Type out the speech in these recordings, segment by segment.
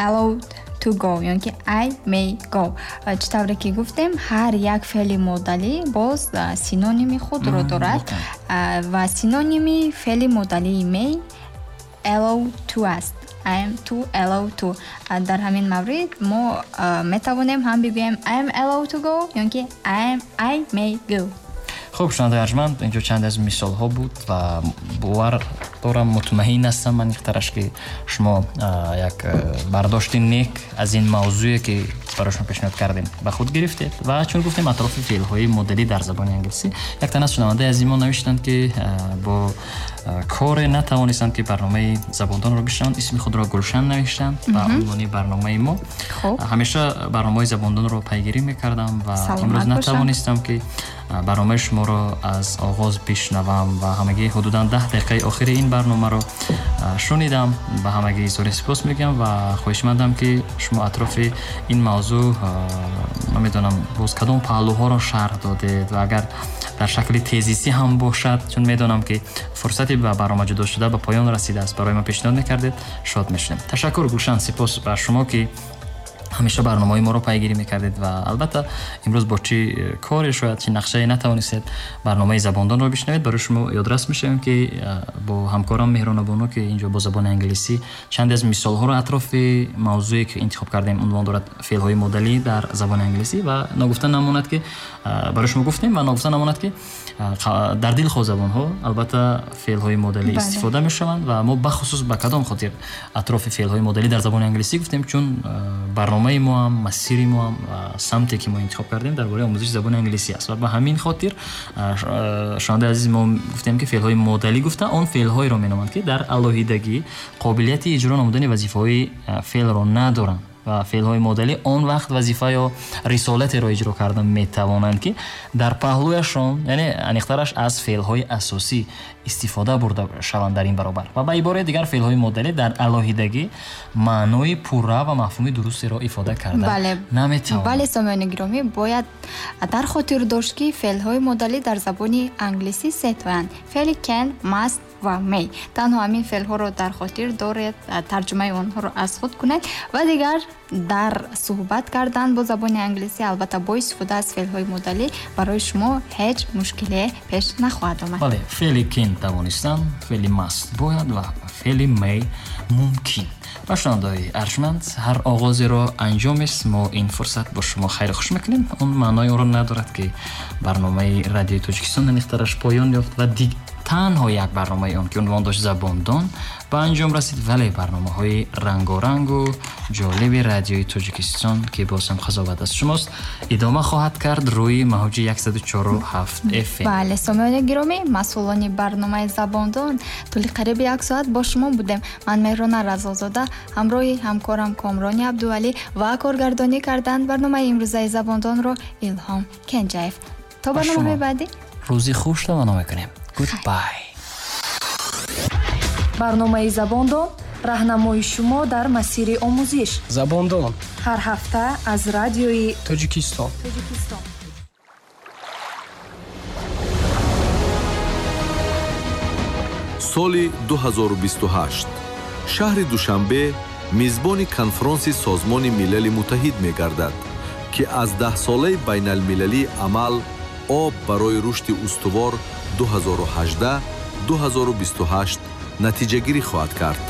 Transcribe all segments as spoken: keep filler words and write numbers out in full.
Allowed to go ё ки I may go. Чӣ тавре ки гуфтем, ҳар як феъли модалӣ боз синоними худро дорад ва синоними феъли модалии may allow to аст. I am to allow to. Дар ҳамин маврид мо метавонем ҳам бигӯем I am allowed to go ё ки I am I may go. Хуб, шунавандаи арҷманд, инҷо чанд аз мисолҳо буд ва бовар дорам, мутмаин ҳастам ман ихтараш, ки шумо як бардошти нек аз ин мавзӯе ки барои шумо пешниҳод кардем ба худ гирифтед. Ва чун гуфтем атрофи феълҳои модалӣ дар забони англисӣ, як тан аз шунавандаи азизи мо навиштанд, ки бо коре натавонистанд, ки барномаи забондонро бишнаванд. Исми худро Гулшан навиштанд ба унвони барномаи мо. Ҳамеша барномаҳои забондонро пайгирӣ мекардам ва имрӯз натавонистам, ки барномаи шуморо аз оғоз бишнавам ва ҳамагӣ ҳудудан даҳ дақиқаи охири ин барномаро шунидам. Ба ҳамагӣ изҳори сипос мегӯям ва хоҳишмандам, ки шумо атрофи ин мавзӯъ, намедонам, боз кадом паҳлӯҳоро шарҳ додед ва агар дар шакли тезисӣ ҳам бошад, чун медонам, ки фурсати ба барнома ҷудо шуда ба поён расидааст, барои мо пешниҳод мекардед, шод мешудем. Ташаккур, Гулшан, сипос ба шумо, ки ҳамеша барномаҳои моро пайгирӣ мекардед ва албатта имрӯз бо чӣ коре, шояд чӣ нақшае натавонистед барномаи забондонро бишнавед. Барои шумо ёдрас мешавем, ки бо ҳамкорам Меҳронабону, ки инҷо бо забони англисӣ чанде аз мисолҳоро атрофи мавзӯе ки интихоб кардем, унвон дорад феълҳои модалӣ дар забони англисӣ, ва ногуфта намонад, ки барои шумо гуфтем ва ногуфта намонад, ки дар дилхоҳ забонҳо албатта феълҳои модалӣ истифода мешаванд ва мо бахусус ба кадом хотир атрофи феълҳои модалӣ дар забони англисӣ гуфтем, чун барномаи мо ҳам, масири мо ҳам, самте ки мо интихоб кардем дар бораи омӯзиши забони англисӣ аст ва ба ҳамин хотир, шунавандаи азиз, мо гуфтем, ки феълҳои модалӣ гуфта он феълҳоеро меноманд, ки дар алоҳидагӣ қобилияти иҷро намудани вазифаҳои феълро надоранд ва феълҳои модалӣ он вақт вазифа ё рисолатеро иҷро карда метавонанд, ки дар паҳлӯяшон, яъне аниқтараш, аз феълҳои асосӣ истифода бурда шаванд дар ин баробар. Ва ба ибораи дигар, феълҳои модалӣ дар алоҳидагӣ маънои пурра ва мафҳуми дурустеро ифода карда наметавонанд. Бале, сомиёни гиромӣ, бояд дар хотир дошт, ки феълҳои модалӣ дар забони англисӣ се тоянд: феъли can, must ва may. Танҳо ҳамин феълҳоро дар хотир доред, тарҷумаи онҳоро аз худ кунед ва дигар дар суҳбат кардан бо забони англисӣ, албатта бо истифода аз феълҳои модалӣ, барои шумо ҳеҷ мушкиле пеш нахоҳад омад. Бале, феъли can тавонистан, феъли must бояд ва феъли may мумкин. Ба шунавандаҳои арҷманд, ҳар оғозеро анҷомест, мо ин фурсат бо шумо хайру хуш мекунем. Он маънои онро надорад, ки барномаи радиои Тоҷикистон аниқтараш поён ёфт ва танҳо як барномаи он, ки унвон дошт Забондон, ба анҷом расид, вале барномаҳои рангорангу ҷолиби радиои Тоҷикистон, ки боз ҳам қазоват аз шумост, идома хоҳад кард рӯи мавҷи яксаду чору ҳафт F M. Бале, сомиёни гиромӣ, масъулони барномаи Забондон тӯли қариби як соат бо шумо будем. Ман Меҳрона Разолзода ҳамроҳи ҳамкорам Комрони Абдувалӣ ва коргардонӣ карданд барномаи имрӯзаи Забондонро Илҳом Кенҷаев. То барномаҳои баъдӣ рӯзи хуш таманно мекунем. Goodbye. Барномаи Забондон раҳнамои шумо дар масири омӯзиш. Забондон ҳар ҳафта аз радиои Тоҷикистон. Тоҷикистон. Соли ду ҳазору бисту ҳашт шаҳри Душанбе мизбони конфронси Созмони Милали Муттаҳид мегардад, ки аз даҳсолаи байналмилалии амал об барои рушди устувор ду ҳазору ҳаждаҳ ду ҳазору бисту ҳашт натиҷагирӣ хоҳад кард.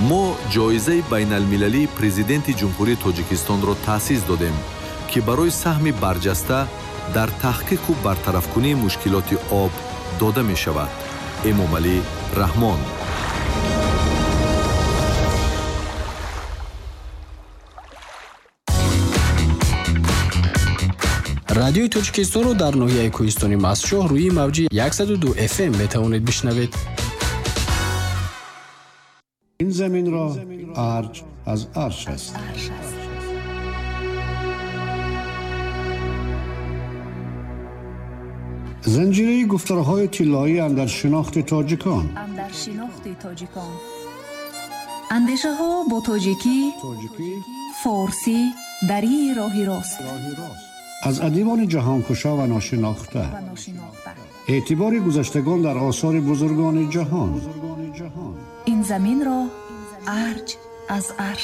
Мо ҷоизаи байналмилалии президенти Ҷумҳурии Тоҷикистонро таъсис додем, ки барои саҳми барҷаста дар таҳқиқу бартарафкунии мушкилоти об дода мешавад. Эмомалӣ Раҳмон. Радиои Тоҷикистонро дар ноҳияи кӯҳистони Мастчоҳ рӯи мавҷи яксаду ду F M метавонед бишнавед. Ин заминро арҷ аз арш аст. Занҷираи гуфторҳои тиллоӣ андар шинохти тоҷикон. Андар шинохти тоҷикон. Андешаҳо бо тоҷикӣ, форсӣ, дарии роҳи рост. Аз адибони ҷаҳонкушо ва ношинохта, эътибори гузаштагон дар осори бузургони ҷаҳон. Ин заминро арҷ аз арш.